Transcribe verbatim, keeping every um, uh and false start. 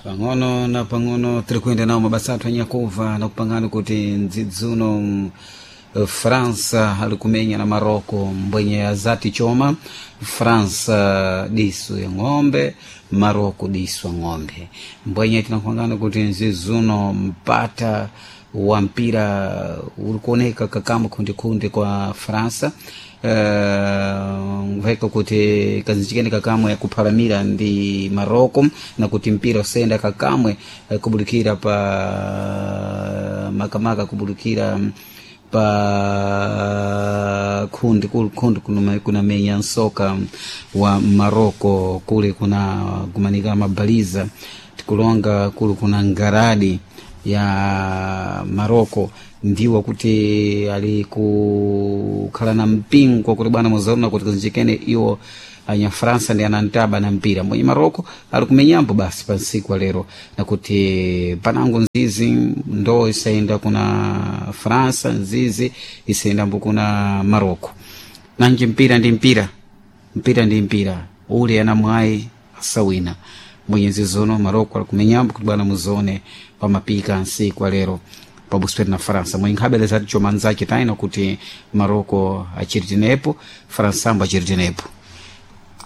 Pang'ono na pang'ono tiri kuyenda nawo mabasa athu anyakuva na kupangana kuti mdzidzuno mm, França ali kumenya na Marocco mbwenye azati choma. França diso ya ng'ombe, Marocco diso ya ng'ombe. Mbwenye tinakupangana kuti mzizuno mpata wa mpira uri kuoneka kakamba khundikhunde kwa França, uh, veka kuti kazinjikeni kakamwe kuphalamira ndi Marocco na kuti mpira usenda kakamwe eh, kubulikira pa makamaka kubulikira pa khundi kuli khundi kunuma- kunamenya nsoka wa Marocco, kuli kuna kumanika mabaliza tikulonga kuli kuna ngaradi ya Marocco, ndiwo kuti ali kukhala na mpingo kuti bwana muzaona kuti kazinjikene iwo anya França ndi anantaba na mpira mwenye Marocco ali kumenyambo basi pa nsiku wa lero, nakuti panango nzizi ndo isayenda kuna França, nzizi isayendambo kuna Marocco. Nanji mpira ndi mpira, mpira ndi mpira, uli ana mwayi asawina. Mwenyezi zono Marocco ali kumenyambo kuti bwana muzone pamapika nsiku wa lero pabusipeti na França. Mwenye nkhabeleza ati chomanzache taina kuti Marocco achiri tenepo, França ambo achiri tenepo.